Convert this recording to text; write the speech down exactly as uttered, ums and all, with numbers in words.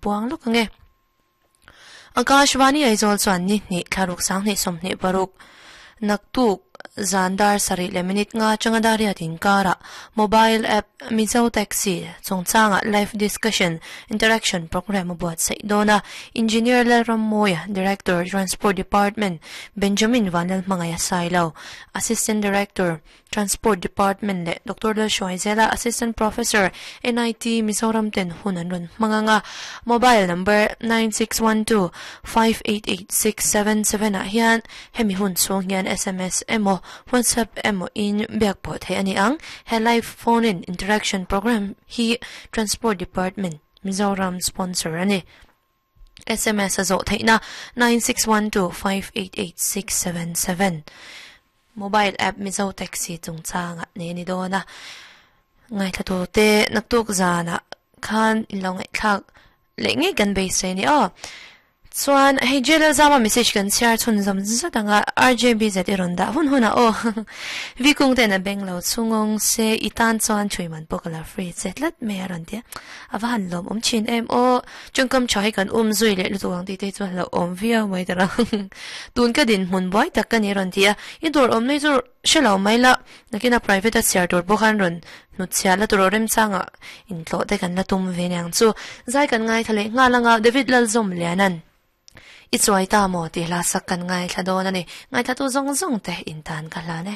puang lawk ange. Akashvani Aizawl chuan ni hnih thlaruk sanghnih sawmhnih paruk naktuk zandar sarih leh minute nga atanga dariat inkara mobile app Mizo Taxi chungchanga live discussion interaction program a buatsaih dawn a. Engineer Lalrammoia, Director, Transport Department, Benjamin Vanlalhmangaiha Sailo, Assistant Director, Transport Department leh Doctor Lalhruaizela, Assistant Professor, N I T Mizoram ten hun an rawn hmang anga. Mobile number nine six one two five eight eight six seven seven ah hian hemi hun chhung hian S M S emaw WhatsApp emaw in biak pawh theih a ni ang. He live phone in interaction program hi Transport Department Mizoram sponsor a ni. S M S a zawh theihna nine six one two five eight eight six seven seven. Mobile app Mizo Taxi chungchanga ne ni dawn a. Ngaithla tu te naktuk zana khan in lo ngaihthlak leh ngei kan beisei ni aw. Chuan hei J L Zama message kan chhiar chhun zawm zat anga R J B Z i rawn dah hun hun a aw. Vi kung ten a beng lo chungawng se i tan chuan thui man pawh ka la free che tlat mai a rawn tia. A va han lawm awm thin em aw. Chungkam tha hi kan um zui leh lutuk ang tih te chuan lo awm viau mai ta lo. Tun ka din hmun buai tak ka ni rawn ti a. I dawr awm nei chu hre lo mai la. Nakina private a chhiar tur pawh khan rawn hnut chhia la tur aw remchanga intlawh te kan la tum ve niang chu. Zai kan ngaithla leh nghal anga David Lalzawm Lianan i chuai ta maw tih hla sak kan ngaithla dawn a ni. Ngaithla tu zawng zawng te in tan ka hlan e.